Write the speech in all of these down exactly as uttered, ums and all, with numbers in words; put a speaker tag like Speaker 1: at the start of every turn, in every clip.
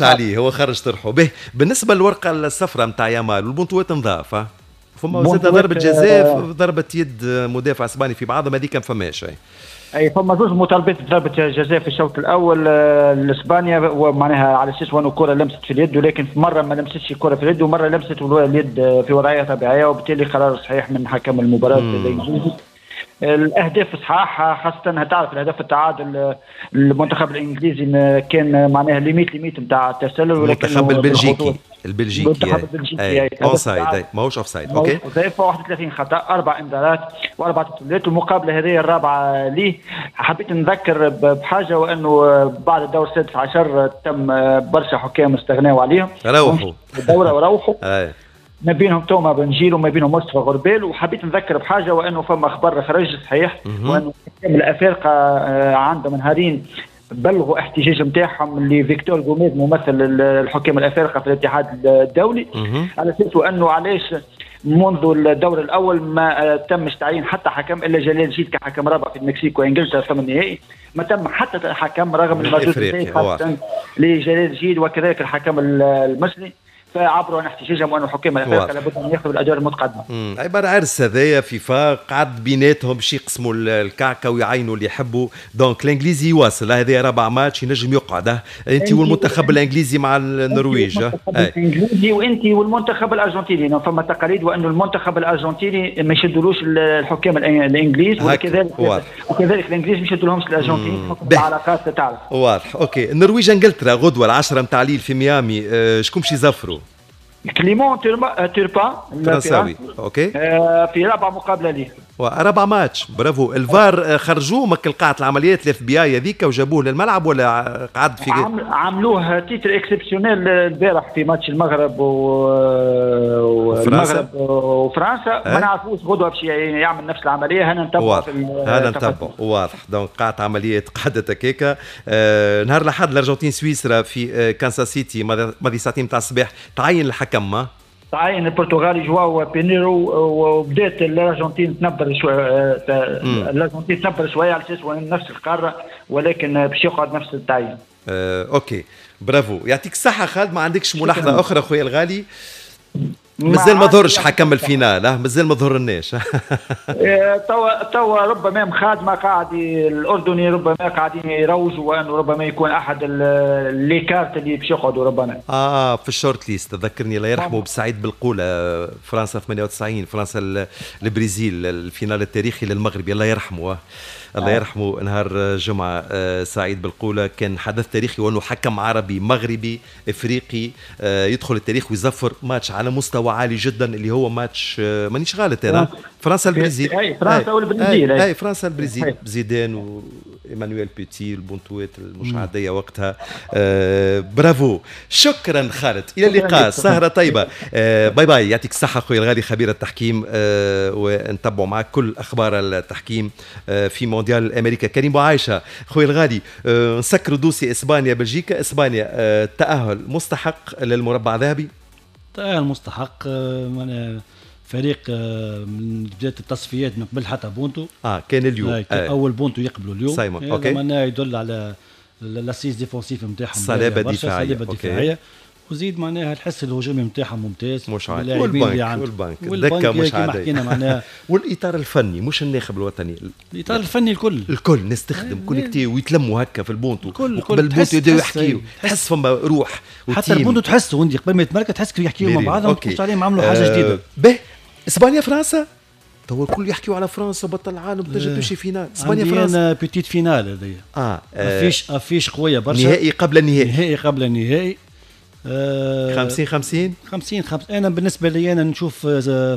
Speaker 1: برشا عليه، هو خرج طرحه. به بالنسبة للورقه الصفراء نتاع يامال والبونتوات نظاف، فما زاد ضربه جزاء، ضربه يد مدافع اسباني في بعضهم، هذيك ما فماش.
Speaker 2: اي فما زوج مطالبات بضربه جزاء في الشوط الاول لاسبانيا، ومعناها على اساس وانه الكره لمست في اليد، ولكن في مرة ما لمستش الكره في اليد ومرة لمست اليد في وضعية طبيعيه، وبالتالي قرار صحيح من حكم المباراة الانجليزي. الاهداف صحاح، خاصة تعرف الهدف التعادل المنتخب الانجليزي كان معناها limite limite نتاع التسلل،
Speaker 1: ولكن المنتخب البلجيكي البلجيكي المنتخب البلجيكي offside ماهوش offside.
Speaker 2: OK، واحد وثلاثين خطا، اربع انذارات واربع تسللات، والمقابلة هذه الرابعة ليه. حبيت نذكر بحاجة، وانه بعد الدور السادس عشر تم برشا حكام استغناوا عليهم،
Speaker 1: روحوا
Speaker 2: الدورة وروحوا ما بينهم توما بنجيل وما بينهم مصطفى غربال. وحبيت نذكر بحاجة، وانه فما خبر خرج صحيح، وانه الحكام الافارقة عندهم نهارين بلغوا احتجاج نتاعهم لفيكتور غوميز ممثل الحكام الافارقة في الاتحاد الدولي، على اساس انه علاش منذ الدور الاول ما تمش تعيين حتى حكم الا جلال جيد كحكم رابع في المكسيك وانجلترا في النهائي، ما تم حتى حكم رغم المردود خاصة لجلال جيد وكذلك الحكم المصري، فعبروا عن احتجاجهم وأن الحكام الافارقة لابد ان ياخذوا الادوار المتقدمة.
Speaker 1: عبارة عرس هذايا فيفا قعد بيناتهم باش يقسموا الكعكه ويعينوا اللي يحبوا، donc الانجليزي يواصل، هذا رابع ماتش ينجم يقعد. انت والمنتخب الانجليزي مع النرويج،
Speaker 2: الانجليزي وانت والمنتخب الارجنتيني، فما تقاليد وانه المنتخب الارجنتيني ما يشدولوش الحكام الانجليز، وكذلك وكذلك الانجليز ما يشدولهمش الارجنتين، حكم العلاقات تعرف.
Speaker 1: واضح. OK، النرويج انجلترا غدوه العشرة نتاع الليل في ميامي، أه شكون باش يزفروا؟
Speaker 2: كليمون توربان
Speaker 1: فرنساوي. OK،
Speaker 2: آه في رابع مقابله ليه،
Speaker 1: رابع ماتش. برافو. الفار خرجوه من قاعة العمليات ال FBI هذيك وجابوه للملعب ولا قعد في
Speaker 2: عملوه à titre exceptionnel البارح في ماتش المغرب
Speaker 1: وفرنسا
Speaker 2: وفرنسا ما نعرفوش غدوه باش يعمل نفس العملية. هنا نتبعوا،
Speaker 1: هنا نتبعوا. واضح. donc قاعة عمليات قعدت هكاكا. آه نهار الاحد الارجنتين سويسرا في آه كانساس سيتي ماضي ساعتين تاع الصباح، تعين الحكم ما
Speaker 2: تعين البرتغالي جواو بينيرو، وبدات الارجنتين تنبر شوية، الارجنتين تنبر شوية على اساس نفس القارة، ولكن باش يقعد نفس التعيين.
Speaker 1: آه، OK، bravo، يعطيك الصحة خالد. ما عندكش ملاحظة اخرى خويا الغالي؟ مازال ما ظهرش حكم ال finale، مازال ما ظهرناش.
Speaker 2: توا توا ربما مخادمه قاعد الاردني ربما قاعدين يروجوا وانه ربما يكون احد les cartes اللي باش يقعدوا ربما.
Speaker 1: اه في ال short list. تذكرني الله يرحمه بسعيد بالقوله، فرنسا ثمانية وتسعين، فرنسا البرازيل، ال finale التاريخي للمغرب، الله يرحمه الله يرحمه. نهار الجمعة سعيد بالقولة كان حدث تاريخي، وأنه حكم عربي مغربي إفريقي يدخل التاريخ ويزفر ماتش على مستوى عالي جدا، اللي هو ماتش مانيش غلط أنا، فرنسا البرازيل.
Speaker 2: أي فرنسا والبرازيل.
Speaker 1: أي فرنسا البرازيل، زيدان وإيمانويل بيتي، البونتوات المش عادية وقتها. آه برافو، شكرا خالد، إلى اللقاء، سهرة طيبة. آه bye bye، يعطيك الصحة خويا الغالي خبير التحكيم، آه ونتبعوا معك كل أخبار التحكيم آه في مونديال امريكا. كريم بوعايشه خويا الغالي، أه نسكروا dossier اسبانيا بلجيكا. اسبانيا أه تاهل مستحق للمربع الذهبي،
Speaker 3: تاهل مستحق، أه فريق أه من بداية التصفيات من قبل حتى بونتو
Speaker 1: اه كان اليوم
Speaker 3: آه اول بونتو يقبلوا اليوم
Speaker 1: سايمون. OK،
Speaker 3: معناها يدل على l'assise défensive نتاعهم،
Speaker 1: صلابة دفاعية،
Speaker 3: صلابة دفاعية، وزيد معناها الحس الهجومي نتاعهم ممتاز،
Speaker 1: مش عادي. والبنك والبنك الدكة مش عادية
Speaker 3: حكينا معناها.
Speaker 1: والاطار الفني مش الناخب الوطني،
Speaker 3: الاطار الفني الكل
Speaker 1: الكل نستخدم connecté ويتلموا هكا في البونتو، وقبل البونتو يبداو يحكيو، تحس فما روح
Speaker 3: حتى البونتو تحسه انت قبل ما يتمركز تحس يحكيو مع بعضهم، تحس عليهم عملوا حاجة جديدة.
Speaker 1: به اسبانيا فرنسا تو الكل يحكيوا على فرنسا بطل العالم تنجم تمشي finale. اسبانيا فرنسا
Speaker 3: petite finale هذيا،
Speaker 1: اه
Speaker 3: affiche affiche قوية برشا،
Speaker 1: نهائي قبل النهائي،
Speaker 3: نهائي قبل النهائي.
Speaker 1: خمسين خمسين
Speaker 3: خمسين خمسين. انا بالنسبة لي انا نشوف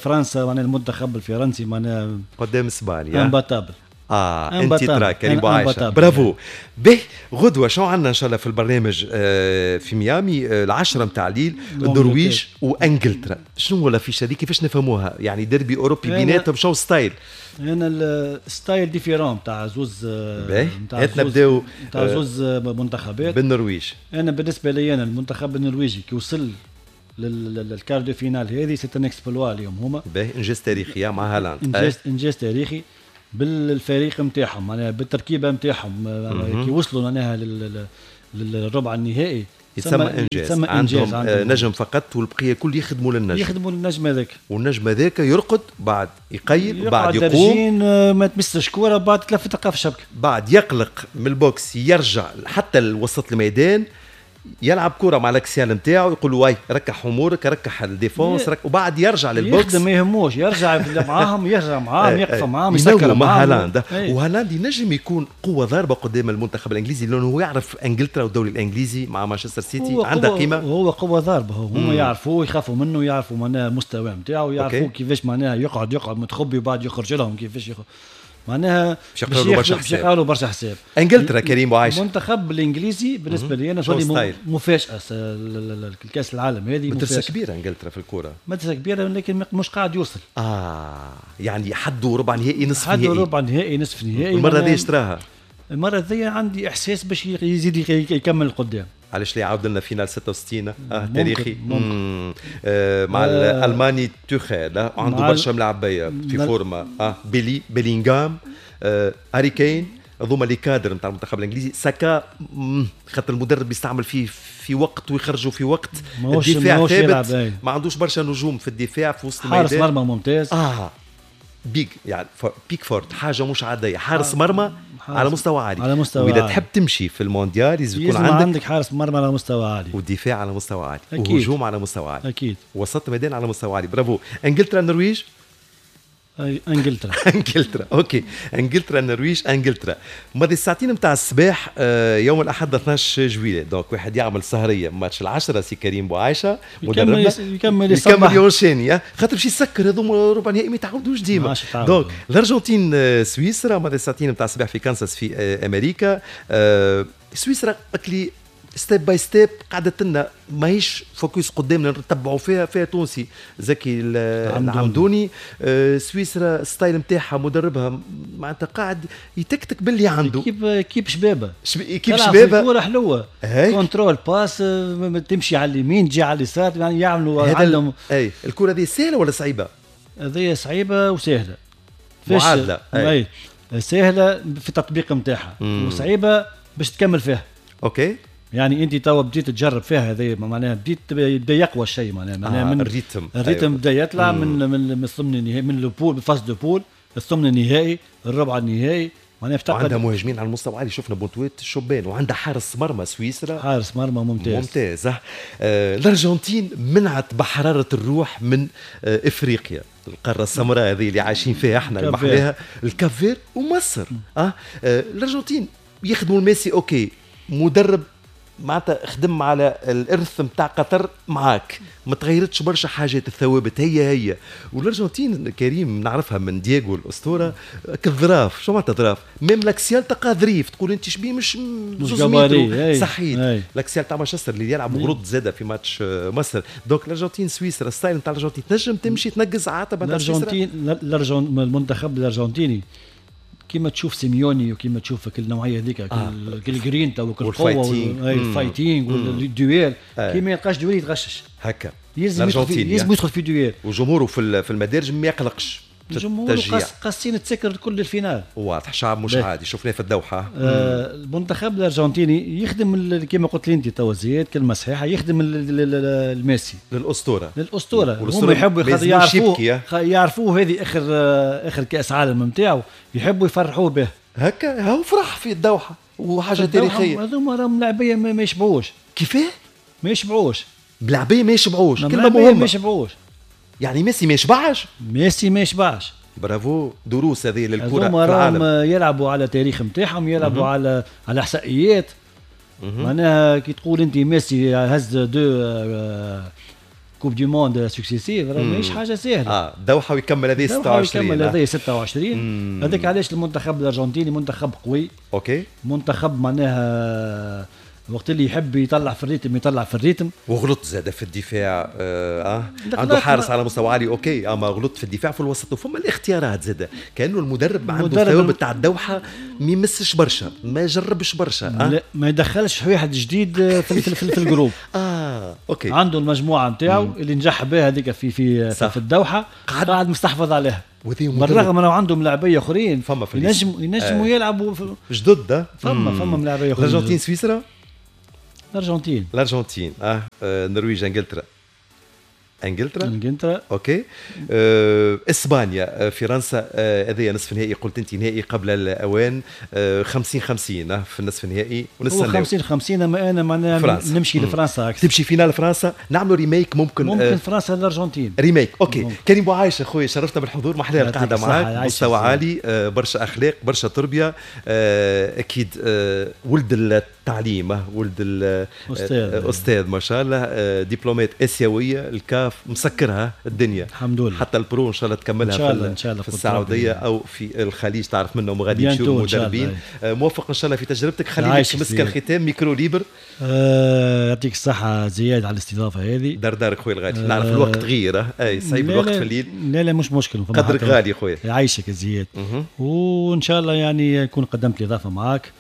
Speaker 3: فرنسا معناها المنتخب الفرنسي معناها
Speaker 1: قدام اسبانيا
Speaker 3: imbattable.
Speaker 1: اه انت ترى كريم بوعايشه، برافو. به غدوه شو عندنا ان شاء الله في البرنامج؟ آه في ميامي آه العشرة نتاع الليل، النرويج وانجلترا. شنو هو l'affiche هذه كيفاش نفهموها؟ يعني ديربي اوروبي بيناتهم، شنو style؟
Speaker 3: انا ال style différent تاع زوز،
Speaker 1: تاع نبداو
Speaker 3: تاع زوز منتخبات.
Speaker 1: بالنرويج
Speaker 3: انا بالنسبة لي انا المنتخب النرويجي كي وصل لل quart de finale هذه c'est un exploit اليوم هما.
Speaker 1: باهي، انجاز تاريخي مع هالاند،
Speaker 3: انجاز انجاز تاريخي بالفريق نتاعهم معناها بالتركيبة نتاعهم، كي وصلوا معناها للربع النهائي
Speaker 1: يتسمى انجاز. يتسمى انجاز عندهم نجم فقط والبقية كل يخدموا للنجم،
Speaker 3: يخدموا للنجم هذاك،
Speaker 1: والنجم هذاك يرقد بعد يقيل بعد يقوم،
Speaker 3: ما تمسش كورة بعد تلف تلقاه في الشبكة،
Speaker 1: بعد يقلق من ال box يرجع حتى لوسط الميدان يلعب كره مع ال axial نتاعو يقول واي ركح امورك ركح ال défense رك... وبعد يرجع لل box
Speaker 3: يخدم ما يهموش، يرجع معاهم يرجع معاهم يقف معاهم يسكر
Speaker 1: مع هالاند. وهالاند ينجم يكون قوة ضاربه قدام المنتخب الانجليزي لانه هو يعرف انجلترا والدوري الانجليزي مع مانشستر سيتي عنده قيمة،
Speaker 3: هو قوة ضاربه، هما يعرفوه يخافوا منه، يعرفوا معناها المستوى نتاعو، يعرفوا كيفاش معناها يقعد يقعد متخبي وبعد يخرج لهم كيفاش يخرج. معناها
Speaker 1: باش يقرأوا برشا حساب،
Speaker 3: باش يقرأوا برشا حساب.
Speaker 1: انجلترا كريم وعايش
Speaker 3: المنتخب الانجليزي بالنسبة لي انا تولي مفاجاة الكاس العالم هذه،
Speaker 1: مدرسه كبيرة انجلترا في الكورة،
Speaker 3: مدرسه كبيرة لكن مش قاعد يوصل.
Speaker 1: اه يعني حدوا ربع نهائي نصف نهائي،
Speaker 3: حدوا ربع نهائي نصف نهائي.
Speaker 1: المرة هذه اشتراها،
Speaker 3: المرة هذه عندي احساس باش يزيد يكمل القدام.
Speaker 1: علاش لا يعاود لنا finale ستة وستين اه تاريخي ممكن. آه مع آه الالماني توخيل آه عنده برشا ملاعبيه في forme اه بيلي بيلينغهام آه هاري كين، هذوما les cadres نتاع المنتخب الانجليزي. ساكا خاطر المدرب يستعمل فيه في وقت ويخرجوا في وقت، الدفاع ثابت ما عندوش برشا نجوم في الدفاع في وسط الميدان،
Speaker 3: حارس مرمى ممتاز
Speaker 1: اه بيك يعني بيكفورد حاجة مش عادية، حارس مرمى حارس على مستوى عالي،
Speaker 3: على مستوى
Speaker 1: واذا
Speaker 3: عالي.
Speaker 1: تحب تمشي في المونديال لازم يكون عندك
Speaker 3: عندك حارس مرمى على مستوى عالي،
Speaker 1: ودفاع على مستوى عالي، وهجوم على مستوى عالي،
Speaker 3: اكيد،
Speaker 1: وسط ميدان على مستوى عالي. برافو. انجلترا النرويج،
Speaker 3: انجلترا
Speaker 1: انجلترا OK، انجلترا النرويج انجلترا. ماضي الساعتين نتاع الصباح يوم الاحد اثناش جويلية، donc واحد يعمل سهريه ماتش العشرة سي كريم بوعايشه
Speaker 3: مدربنا يكمل
Speaker 1: يكمل يونشيني خاطر باش يسكر هذوما ربع نهائي ما يتعاودوش ديما. donc الارجنتين سويسرا ماضي الساعتين نتاع الصباح في كانساس في امريكا. سويسرا اكلي step by step قعدت لنا ماهيش focus قدامنا نتبعوا فيها، فيها تونسي زكي العمدوني. آه سويسرا style نتاعها مدربها معناتها قاعد يتكتك باللي عنده،
Speaker 3: équipe équipe شبابه،
Speaker 1: équipe شبابه،
Speaker 3: الكره حلوة، contrôle passe، تمشي على اليمين تجي على اليسار، يعني يعملوا عندهم.
Speaker 1: اي الكره هذه سهلة ولا صعيبة؟
Speaker 3: هذه صعيبة وسهلة،
Speaker 1: معادلة.
Speaker 3: اي سهلة في التطبيق نتاعها وصعيبه باش تكمل فيها.
Speaker 1: OK
Speaker 3: يعني انت توا بديت تجرب فيها هذه، معناها بديت بدا يقوى الشيء، معناها معناها
Speaker 1: آه من ال rythme
Speaker 3: ال rythme بدا يطلع من من من الثمن النهائي، من les poules phase de poules، الثمن النهائي، الربع النهائي، معناها
Speaker 1: عندها مهاجمين على المستوى عالي، شفنا بونتويت شبان، وعندها حارس مرمى سويسرا،
Speaker 3: حارس مرمى ممتاز
Speaker 1: ممتاز. آه الارجنتين منعت بحرارة الروح من آه افريقيا، القارة السمراء هذه اللي عايشين فيها احنا المحلاها، الكافير ومصر. آه. آه الارجنتين يخدموا الميسي OK، مدرب معناتها خدم على الارث نتاع قطر معاك، ما تغيرتش برشا حاجات، الثوابت هي هي. والارجنتين كريم نعرفها من دييغو الاسطورة كالظراف، شو معناتها ظراف؟ même l'axial تلقاه ظريف، تقول انت شبيه مش
Speaker 3: مش gabarit،
Speaker 1: صحيت l'axial تاع مانشستر اللي يلعب غرد زاده في ماتش مصر. donc الارجنتين سويسرا style نتاع الارجنتين تنجم تمشي تنقز عاتبه
Speaker 3: الارجنتين. المنتخب الارجنتيني كيما تشوف سيميوني وكيما تشوف كل النوعية هذيك، آه. كل الجرينتا وكل القوة وال fighting وال duel، كي ما يلقاش duel يتغشش
Speaker 1: هكا،
Speaker 3: يلزم يلزم يدخل في duel،
Speaker 1: وجمهوره في في المدارج ما يقلقش،
Speaker 3: الجمهور قاسين تسكر كل ال finale،
Speaker 1: واضح شعب مش عادي شفناه في الدوحة.
Speaker 3: آه المنتخب الارجنتيني يخدم كما قلت لي انت توا زياد كلمة صحيحه، يخدم الميسي
Speaker 1: للاسطوره
Speaker 3: للاسطوره هم يحبوا يعرفوه يعرفوه هذه اخر اخر كاس عالم نتاعو، يحبوا يفرحوه به
Speaker 1: هكا، هو فرح في الدوحة وحاجه تاريخية.
Speaker 3: هذوما راهم لاعبيه ما يشبعوش.
Speaker 1: كيفاه؟
Speaker 3: ما يشبعوش
Speaker 1: بلعبيه، ما يشبعوش، كلمة مهمة،
Speaker 3: ما يشبعوش.
Speaker 1: يعني ميسي ما يشبعش،
Speaker 3: ميسي ما يشبعش.
Speaker 1: برافو، دروس هذه للكرة في العالم.
Speaker 3: يلعبوا على تاريخ نتاعهم، يلعبوا على على احصائيات. معناها كي تقول انت ميسي هز deux coupes du monde successives، راه ماهيش حاجة سهلة.
Speaker 1: اه دوحة ويكمل هذه ستة وعشرين،
Speaker 3: يكمل هذه ستة وعشرين. هذاك علاش المنتخب الارجنتيني منتخب قوي.
Speaker 1: OK،
Speaker 3: منتخب معناها وقت اللي يحب يطلع في ال rythme يطلع في ال rythme.
Speaker 1: وغلط زاد في الدفاع، آه, آه. عنده حارس على مستوى عالي OK، اما غلط في الدفاع في الوسط، وفما الاختيارات زاد كانه المدرب عنده الثوابت تاع الدوحة ما يمسش برشا، ما يجربش برشا، آه؟
Speaker 3: لا ما يدخلش واحد جديد في في, في, في ال groupe.
Speaker 1: اه OK،
Speaker 3: عنده المجموعة نتاعو اللي نجح بها هذيك في في في, في الدوحة، قاعد, قاعد مستحفظ عليها. بالرغم انه عندهم ملاعبيه اخرين
Speaker 1: فما في
Speaker 3: ينجم ينجموا آه. يلعبوا
Speaker 1: جدد،
Speaker 3: فما فما ملاعبيه اخرين.
Speaker 1: الارجنتين سويسرا
Speaker 3: الارجنتين.
Speaker 1: الارجنتين اه, آه. النرويج انجلترا. انجلترا
Speaker 3: انجلترا
Speaker 1: OK. أه، اسبانيا فرنسا، هذايا نصف نهائي، قلت انت نهائي قبل الاوان، خمسين خمسين في النصف النهائي.
Speaker 3: ونستناو خمسين خمسين. اما انا معناها نمشي لفرنسا
Speaker 1: اكثر. تمشي finale فرنسا، نعملوا remake ممكن.
Speaker 3: ممكن آه فرنسا الارجنتين
Speaker 1: remake. OK ممكن. كريم بوعايشه خويا شرفتنا بالحضور، محلاها القعدة معاك، مستوى عالي، آه برشا اخلاق، برشا تربيه، آه اكيد آه ولد التعليم، ولد الاستاذ استاذ ما شاء الله، آه دبلومات اسيوية، الكاف مسكرها الدنيا
Speaker 3: الحمد لله،
Speaker 1: حتى ال pro ان شاء الله تكملها
Speaker 3: إن شاء الله، في, إن شاء الله
Speaker 1: في السعودية او في الخليج، تعرف منهم غادي يمشيو المدربين. موفق ان شاء الله في تجربتك. خلينا مسك الختام micro libre.
Speaker 3: آه يعطيك الصحة زياد على الاستضافة هذه.
Speaker 1: دار دارك خويا الغالي، نعرف الوقت غير، اي صعيب الوقت في الليل.
Speaker 3: لا لا مش مشكل،
Speaker 1: قدرك غالي خويا.
Speaker 3: يعيشك زياد، وان شاء الله يعني نكون قدمت الاضافة معاك.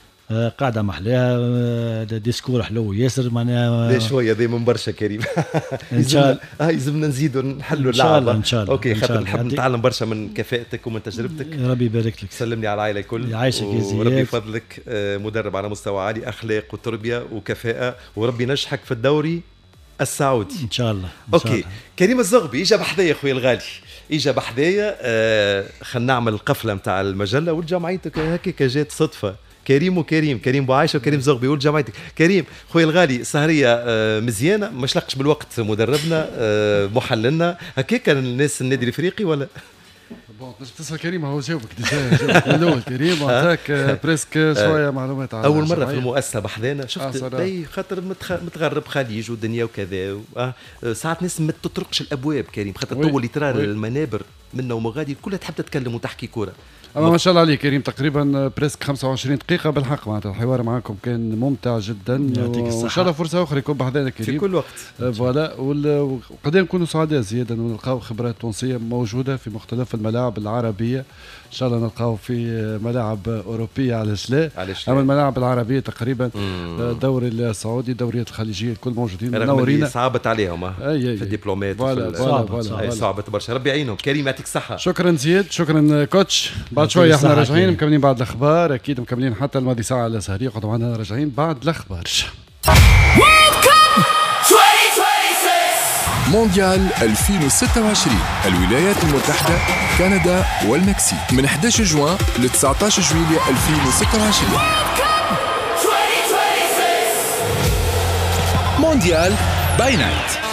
Speaker 3: قاعدة محلاها، discours حلو ياسر معناها.
Speaker 1: لا شوية ذي من برشا كريم. ان شاء الله اه يلزمنا نزيدوا نحلوا اللعبة
Speaker 3: ان شاء الله.
Speaker 1: OK خاطر نحب نتعلم برشا من كفاءتك ومن تجربتك.
Speaker 3: ربي يبارك لك.
Speaker 1: سلمني على العائلة الكل.
Speaker 3: يعيشك يا زياد،
Speaker 1: وربي يفضلك، مدرب على مستوى عالي، اخلاق وتربيه وكفاءة، وربي ينجحك في الدوري السعودي
Speaker 3: ان شاء الله.
Speaker 1: إن شاء الله. OK كريم الزغبي اجا بحذايا خويا الغالي، اجا بحذايا. آه خلينا نعمل القفله نتاع المجلة والجمعيتك هكاك جات صدفة. كريم وكريم، كريم بوعايشه وكريم زغبي ولد جمعيتك. كريم خويا الغالي سهريه مزيانه، ما شلقش بالوقت، مدربنا محللنا هكاك الناس النادي الافريقي ولا
Speaker 4: bon تنجم تسال كريم، هو جاوبك déjà جاوبك من الاول كريم وعطاك presque شوية معلومات
Speaker 1: على اول مرة في المؤسسة بحذانا شفت آه خاطر متغرب خليج ودنيا وكذا آه ساعات ناس ما تطرقش الابواب كريم، خاطر طول ترى المنابر منا ومغادي كلها تحب تتكلم وتحكي كورة.
Speaker 4: اما ما شاء الله عليك كريم، تقريبا presque خمسة وعشرين دقيقة بالحق معناتها الحوار معكم كان ممتع جدا، وان شاء الله فرصة اخرى يكون بحذانا كريم
Speaker 1: في كل وقت.
Speaker 4: voilà، وقد نكونوا سعداء زيادة انه نلقاو خبرات تونسية موجودة في مختلف الملاعب العربية، ان شاء الله نلقاو في ملاعب اوروبية علاش لا، اما الملاعب العربية تقريبا الدوري السعودي، الدوريات الخليجية الكل موجودين
Speaker 1: منورين. صعبت عليهم في الدبلومات صعبت صعبت برشا، ربي يعينهم. كريم يعطيك الصحة.
Speaker 4: شكرا زياد، شكرا coach. بعد شوية احنا راجعين مكملين بعد الاخبار، اكيد مكملين حتى الماضي ساعة على سهريه، قعدوا معنا راجعين بعد الاخبار.
Speaker 5: مونديال ألفين وستة وعشرين، الولايات المتحدة، كندا والمكسيك، من أحد عشر جوان ل تسعة عشر جويلية ألفين وستة وعشرين. مونديال by night.